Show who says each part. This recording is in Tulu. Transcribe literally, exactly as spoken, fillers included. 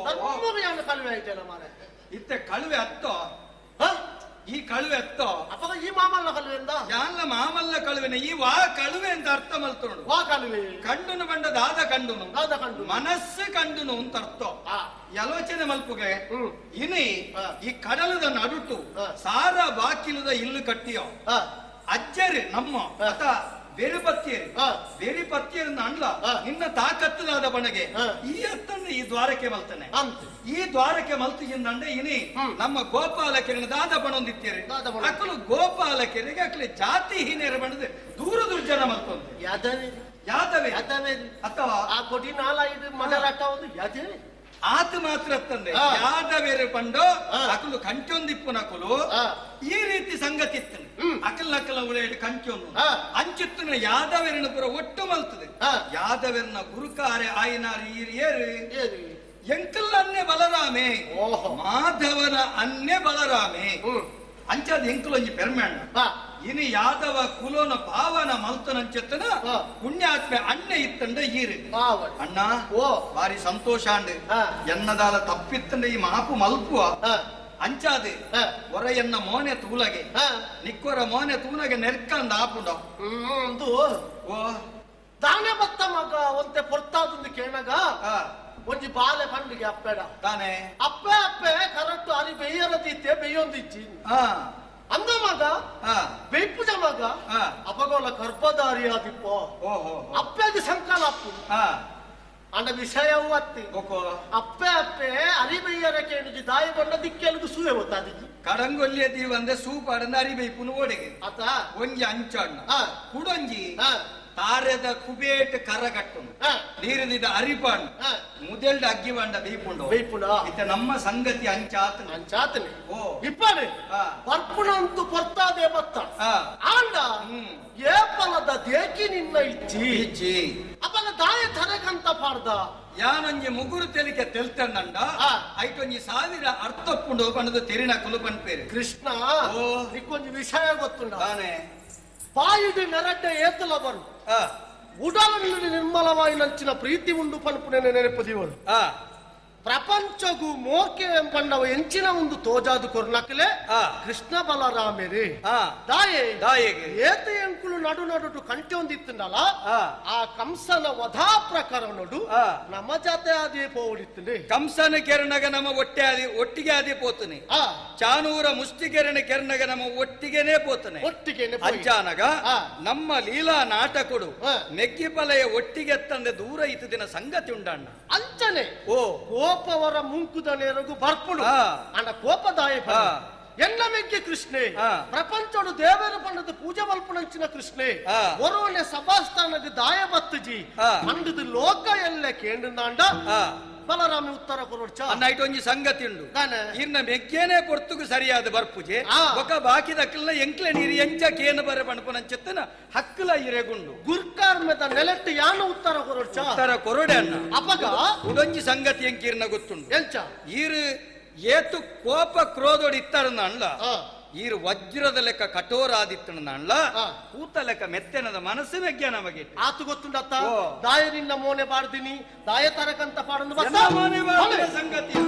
Speaker 1: ಧರ್ಮಗ ಯಾನು ಕಳುವೆ ಆಯ್ತಲ್ಲ ಮಾರೆ.
Speaker 2: ಇತ್ತೆ ಕಳುವೆ ಅತ್ತೋ ಈ ಕಳುವೆ ಅತ್ತೋ
Speaker 1: ಅಪ್ಪಗ ಈ ಮಾಮಲ್ಲ ಕಳುವೆ ಅಂದ
Speaker 2: ಯಾನ್ಲ ಮಾಮಲ್ಲ ಕಳುವೆನ ಈ ವಾ ಕಳುವೆ ಅಂತ ಅರ್ಥ ಮಲ್ತೋಡು.
Speaker 1: ವಾ ಕಳುವೆ
Speaker 2: ಕಂಡುನು ಬಂಡ ದಾದ ಕಂಡುನು
Speaker 1: ದಾದ ಕಂಡು
Speaker 2: ಮನಸ್ಸು ಕಂಡುನು ಅಂತ ಅರ್ಥ. ಆಲೋಚನೆ ಮಲ್ಪುಗೆ ಇನಿ ಈ ಕಡಲದ ನಡುಟು ಸಾರ ಬಾಕಿಲದ ಇಲ್ಲು ಕಟ್ಟಿಯೋ ಅಜ್ಜರು ನಮ್ಮ ಅತ ಬೇರೆ ಪತ್ತಿಯರು ಬೇರೆ ಪತ್ತಿಯರು ಅಣ್ಲ ನಿನ್ನ ತಾಕತ್ತದಾದ ಬಣಗೆ ಈ ಅತ್ತನ್ನು ಈ ದ್ವಾರಕ್ಕೆ ಮಲ್ತಾನೆ. ಈ ದ್ವಾರಕ್ಕೆ ಮಲ್ತಿಂದಂಡೆ ಇನಿ ನಮ್ಮ ಗೋಪಾಲ ಕೆರೆ ದಾದ ಬಣೊಂದಿತ್ತೀರಿ ಅಕ್ಕಲು ಗೋಪಾಲ ಕೆರೆಗೆ ಅಕ್ಕಲು ಜಾತಿ ಹೀನೇರ ಬಣದ ದೂರ ದುರ್ಜನ ಮಲ್ತೊಂದು ಯಾದವೇ ಅಥವಾ
Speaker 1: ಆ ಕೊಡಿ ನಾಲ ಇದು ಮದರಾಟ ಒಂದು ಯಾದವೇ
Speaker 2: ಆತ ಮಾತ್ರ ತಂದೆ ಯಾದವೇರು ಪಂಡು ಅಕಲು ಕಂಚೊಂದಿಪ್ಪುನಕುಲು ಈ ರೀತಿ ಸಂಗತಿ ಇತ್ತು. ಅಕಲ್ ನಕಲ ಉಳೇಡು ಕಂಚೊಂದು ಅಂಚಿತ್ತನ ಯಾದವೇರನ ಪುರ ಒಟ್ಟು ಮಲ್ತದೆ. ಯಾದವೇರನ ಗುರುಕಾರೆ ಆಯ್ನಾರು ಈರಿಯೇರು ಎಂಕಲ್ ಅನ್ನೆ ಬಲರಾಮೆ ಮಾಧವನ ಅನ್ನೆ ಬಲರಾಮೆ ಅಂಚಾದ ಎಂಕಲೊಂಜಿ ಪೆರ್ಮೆಣ್ಣ ಇನಿ ಯಾದವ ಕುಲೋನ ಪಾವನ ಮಲ್ತನಂಚೆತ್ತನ ಪುಣ್ಯಾತ್ಮೆ ಅಣ್ಣೆ ಇತ್ತಂಡ ಈರು ಅಣ್ಣ ಬಾರಿ ಸಂತೋಷ ಅಂಡ್ ಎನ್ನದಾಲ ತಪ್ಪಿತ್ತಂಡ ಈ ಮಾಪು ಮಲ್ಪುವ ಅಂಚಾದೆ ಹೊರ ಎನ್ನ ಮೋನೆ ತೂಲಗೆ ನಿಕ್ಕೊರ ಮೋನೆ ತೂನಗೆ ನೆರ್ಕಂದ ಆಪುಂಡ
Speaker 1: ಓ ದಾನೆ ಬತ್ತ ಮಗ ಒಂತೆ ಪೊರ್ತಾದಂದು ಕೇಳಗ ಒಂಜಿ ಬಾಲೆ ಪಂಡಿಗೆ ಅಪ್ಪೆಡ
Speaker 2: ತಾನೆ
Speaker 1: ಅಪ್ಪೆ ಅಪ್ಪೆ ಕರೆಕ್ಟ್ ಅಲ್ಲಿ ಬೆಯ್ಯರ ತೀತೆ ಬೆಯ್ಯೊಂದಿಚ್ಚಿ ಅಂದ ಮಗ ಬೇಪುಜ ಮಗ ಅಪಗೋಲ ಗರ್ಭಧಾರಿ ಆದಿಪ್ಪೋ ಅಪ್ಪೆಗೆ ಸಂಕಲ್ಪ ಅಪ್ಪು ಅಂಡ ವಿಷಯವು ಅತ್ತಿ ಅಪ್ಪೆ ಅಪ್ಪೆ ಅರಿಬೆಯ್ಯರ ಕೇಳಿಜಿ ದಾಯಿ ಬಂಡ ದಿಕ್ಕೆಲುಗು ಸೂಯೆ ಗೊತ್ತಾದಿಜ್ಜಿ
Speaker 2: ಕಡಂಗೊಲ್ಲಿಯ ದೀವಂದೆ ಸೂಪಾಡಂದ ಅರಿಬೆಯ್ಪುನು ಓಡೆಗೆ
Speaker 1: ಅತ
Speaker 2: ಒಂಜಿ ಅಂಚಣ್ಣ ಕುಡೊಂಜಿ ತಾರೆದ ಕುಬೇಟ್ ಕರಗಟ್ಟು ನೀರಿದ ಅರಿಪಾಣ್ ಮುದೆಲ್ಡ ಅಗ್ಗಿವಂಡ ಬೇಯ್ಪುಂಡು
Speaker 1: ಬೇಯ್ಪುಂಡ
Speaker 2: ಇತ್ತ ನಮ್ಮ ಸಂಗತಿ ಅಂಚಾತನ
Speaker 1: ಅಂಚಾತನೆ ಓ ಇಪ್ಪನೆ ಪರ್ಪುಣಂತು ಪೊರ್ತಾದೆ ಬತ್ತ ಆಂಡ ಏಪಲದ ದೇಕಿ ನಿನ್ನ ಇಚ್ಚಿ
Speaker 2: ಇಚ್ಚಿ
Speaker 1: ಅಪಲ ದಾಯ ತರಕಂತ ಪಾಡ್ದ
Speaker 2: ಯಾನೊಂಜಿ ಮುಗುರು ತೆಲಿಕೆ ತೆಲ್ತಂಡ ಐಟೊಂಜಿ ಸಾವಿರ ಅರ್ಥಪ್ಪುಂಡು ಪಣದು ತೆರಿನ ಕುಲುಪನ್ಪೇರು
Speaker 1: ಕೃಷ್ಣ ನಿಕ್ಕೊಂಜಿ ವಿಷಯ ಗೊತ್ತುಂಡ
Speaker 2: ತಾನೆ
Speaker 1: ಬಾಯಿಡು ನೆರಡ್ಡ ಏತಲ ಬರು ಉಡಲನ್ನು ನಿರ್ಮಲವಾಗಿ ನಂಚಿನ ಪ್ರೀತಿ ಉಂಡು ಪನ್ಪುನೆ ನೆನಪು ಪ್ರಪಂಚಗೂ ಮೋಕೆ ಪಂಡವ ಎಂಚಿನ ಒಂದು ತೋಜಾದು ಕೊರ್ನಕಲೆ ಕೃಷ್ಣ ಬಲರಾಮೇರಿ ದಾಯೆ
Speaker 2: ದಾಯೆಗೆ
Speaker 1: ಏತ ಎಂಕುಲು ನಡು ನಡು ಕಂಟೆ ಒಂದಿತ್ತಂಡಲ ಆ ಕಂಸನ ವಧಾ ಪ್ರಕರಣಡು ನಮ್ಮ ಜಾತೆ ಅದೇ ಪೋಡಿತ್ತಂಡೆ
Speaker 2: ಕಂಸನ ಕೆರಣಗ ನಮ್ಮ ಒಟ್ಟೆ ಆದಿ ಒಟ್ಟಿಗೆ ಆದಿ ಪೋತನೆ ಚಾನೂರ ಮುಷ್ಟಿ ಕೆರಣ ಕೆರಣಗ ನಮ್ಮ ಒಟ್ಟಿಗೆನೇ ಪೋತನೆ
Speaker 1: ಒಟ್ಟಿಗೆ
Speaker 2: ಅಂಚಾನಗ ನಮ್ಮ ಲೀಲಾ ನಾಟಕಡು ಮೆಗ್ಗಿಪಲೆಯ ಒಟ್ಟಿಗೆ ತಂದೆ ದೂರ ಇತ್ತು ದಿನ ಸಂಗತಿ ಉಂಡಣ್ಣ
Speaker 1: ಅಂಚನೆ
Speaker 2: ಓ
Speaker 1: ಕೋಪವರ ಮುಂಕುದ ನೇರಗು ಬರ್ಪುಡು ಅಂಡ ಕೋಪದಾಯ ಎನ್ನ ಮೆಗ್ಗೆ ಕೃಷ್ಣೆ ಪ್ರಪಂಚಡು ದೇವರ ಪಂಡದ ಪೂಜೆ ಮಲ್ಪುಣಂಚಿನ ಕೃಷ್ಣೆ ಒರೋನೆ ಸಭಾಸ್ಥಾನದ ದಾಯ ಬತ್ತಜಿ ಪಂಡದ ಲೋಕ ಎಲ್ಲ ಕೇಂದ್ರಂಡ ಬಲರಾಮಿ ಉತ್ತರ ಕೊರೊಡ್ಚ
Speaker 2: ಅನ್ನ ಒಂಜಿ ಸಂಗತಿ ಉಂಡು ಇನ್ನ ಮೆಗ್ಗೇನೆ ಪೊರ್ತುಗು ಸರಿಯಾದ ಬರ್ಪುಜೆ ಒಕ ಬಾಕಿ ದಕ್ಕಲ್ನ ಎಂಕ್ಲೆ ನೀರು ಎಂಚ ಕೇನ ಬರ ಪಣಪುನಂಚೆತ್ತನ ಹಕ್ಕಲ ಇರೆಗುಂಡು
Speaker 1: ಗುರ್ಕಾರ್ಮೆದ ನೆಲೆಟ್ಟು ಯಾನು ಉತ್ತರ ಕೊರೊಡ್ಚ
Speaker 2: ಉತ್ತರ ಕೊರೊಡೆ ಅನ್ನ
Speaker 1: ಅಪಗ
Speaker 2: ಉಡೊಂಜಿ ಸಂಗತಿ ಎಂಕೀರ್ನ ಗೊತ್ತುಂಡು
Speaker 1: ಎಂಚ
Speaker 2: ಈರು ಏತು ಕೋಪ ಕ್ರೋಧೋಡಿ ಇತ್ತಾರನ್ನ ಅಣ್ಣ ಈರು ವಜ್ರದ ಲೆಕ್ಕ ಕಠೋರಾದಿತ್ತನ ಅಣ್ಣ ಕೂತ ಲೆಕ್ಕ ಮೆತ್ತೆನದ ಮನಸ್ಸು ಮೆಗ್ಯ ನಮಗೆ
Speaker 1: ಆತು ಗೊತ್ತುಂಡತ್ತ ದಾಯ ನಿನ್ನ ಮೋನೆ ಬಾಡ್ದಿನಿ ದಾಯ ತರಕಂತ ಪಾಡಂದು
Speaker 2: ಸಂಗತಿ.